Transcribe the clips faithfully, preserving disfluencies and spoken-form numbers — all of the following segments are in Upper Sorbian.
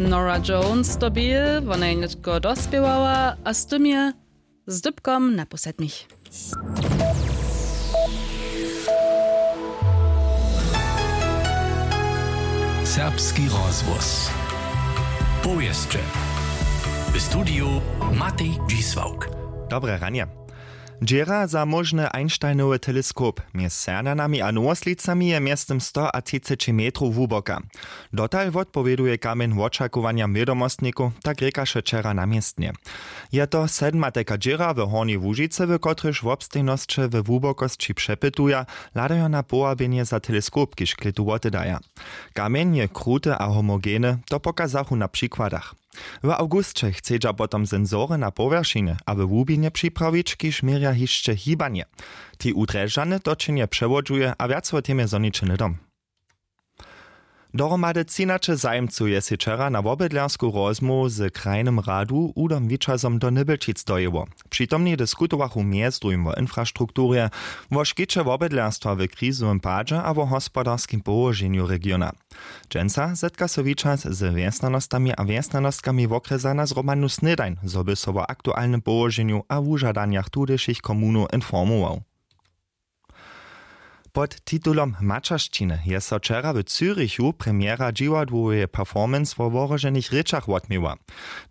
Nora Jones to bě, wona je nětko dospěwała a z tym je z dypkom na pół sedmich. Serbski rozhłos. Powěsće. W studiju Matej Dźisławk. Dobre ranje. Dźěra za móžny Einsteinowy teleskop mjez Sernjanami a Nowoslicami je mjeztym sto a třiceći metrow hłuboka. Dotal wotpowěduje kamjeń wočakowanjam wědomostnikow, tak rěkaše wčera na městnje. Je to sedmateka dźěra w Hornjej Łužicy, w kotrejž wobstejnosće we hłubokosći přepytuja, hladajo na powabjenje za teleskop, kiž klětu wotedaja. Kamjeń je kruty a homogeny, to pokazachu na přikładach. W awgusće chcedźa potom sensory na powjeršinje a we hłubinje připrawić, kiž měrja hišće hibanje. Tej u Drježdźany to činje přewodźuje a wjac wo temje zhoniće hnydom. Dohromady třinaće zajimcow je sej wčera na wobydlersku rozmołwu z krajnym radu Udom Wičazom do Nybelčic dojěło. Přitomni diskutowachu mjez druhim wo infrastrukturje, wo škiće wobydlerstwa w krizowym padźe a wo hospodarskim połoženju regiona. Dźensa zetka so Wičaz z wjesnjanostami a wjesnjanostkami wokrjesa na zhromadnu snědań, zo by so wo aktualnym połoženju a wužadanjach tudyšich komunow informował. Pod titulom Maćeršćiny je so wčera w Zürichu premjera dźiwadłoweje performance wo wohroženych rěčach wotměła.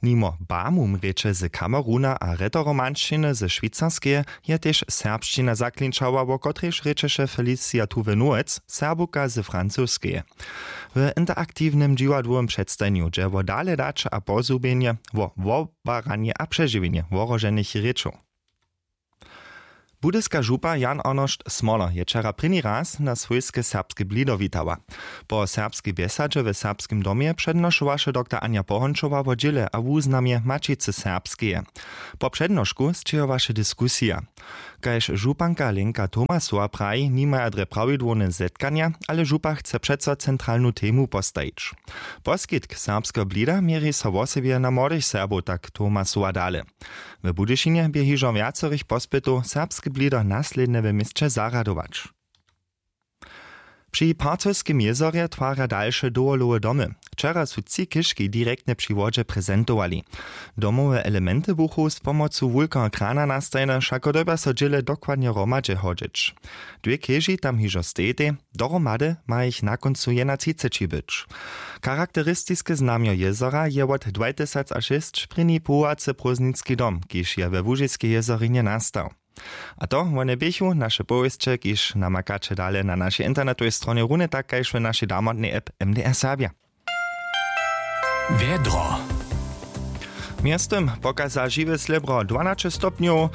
Nimo Bamum rěče z Kameruna a Rätoromanšćiny ze Šwicarskeje je tež serbšćina zaklinčała, wo kotrejž rěčeše Felicia Tuve-Nowec, Serbowka z Francouzskeje. W interaktiwnym dźiwadłowym předstajenju dźe wo dale daće a pozhubjenje, wo wobaranje a přežiwjenje wohroženych rěčow. Budyska župa Jan Arnošt Smoler je wčera prěni raz na swójske serbske blido witała. Po serbskej bjesadźe w Serbskim domje přednošowaše doktor Anja Pohončowa wo dźěle a wuznamje Maćicy Serbskeje. Po přednošku sćěhowaše diskusija. Kaž županka Lenka Tomasowa praji, nimaja drje prawidłowne zetkanja, ale župa chce přeco centralnu temu postajić. Poskitk serbskeho blida měri so wosebje na młodych Serbow, tak Tomasowa dale. W Budyšinje bě hižo wjacorych pospytow, serbske blido naslědnje w měsće zarjadować. Při Parcowskim jězorje twarja dalše dowolowe domy. Wčera su tři chěžki direktnje při wodźe prezentowali. Domowe elementy buchu z pomocu wulkeho krana nastajene, wšako dyrbja so dźěle dokładnje hromadźe hodźeć. Dwě chěži tam hižo stejitej, dohromady ma jich na kóncu jednatřiceći być. Charakteristiske znamjo jězora je wot dwajtysac a šěsć prěni powołacy prózdninski dom, kiž je we Łužiskej jězorinje nastał. A to wone běchu naše powěsće, kiž namakaće dale na našej internetowej stronje, runje tak kaž w našej damotnej app M D R Serbja. Wjedro. Mjeztym pokaza žiwe slěbro dwanaće stopnjow.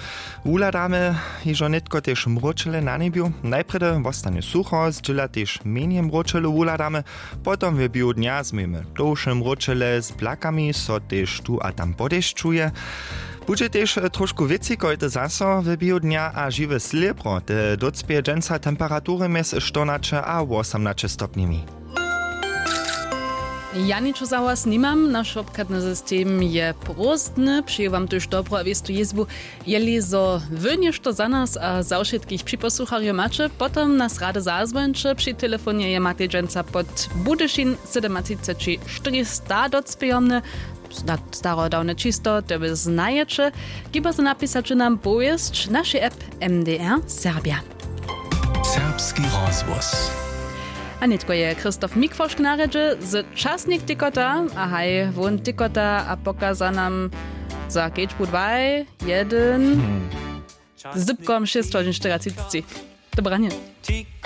Wuhladamy hižo nětko tež mróčele na njebju. Najprjedy wostanje sucho, zdźěla tež mjenje mróčele wuhladamy. Potom w běhu dnja změjemy tołše mróčele z blakami, so tež tu a tam podešćuje. Budźe tež trošku wětřikojte zaso w běhu dnja a žiwe slěbro te docpěje dźensa temperatury mjez štyrnaće a wosomnaće stopnjemi. Ja ničo za was nimam, naš wobchadny system je prózdny. Přeju wam tuž dobru a wěstu jězbu. Jeli zo wy něšto za nas a za wšitkich připosłucharjow maće, potom nas rady zazwońće. Při telefonje je matej dźensa pod Budyšin sydomatřiceći štyrista docpějomny. Starodawne čisto to wy znajeće. Hiba so napisać nam powěsć našej app M D R Serbja. Serbski rozhłos. A nětko je Christoph Mikwošk na rjedźe z Časnik tykota. A haj, wón tykota a pokaza nam za kedźbu dwaj, jedyn, z dypkom šěsć hodźin štyriatřiceći. Dobranje.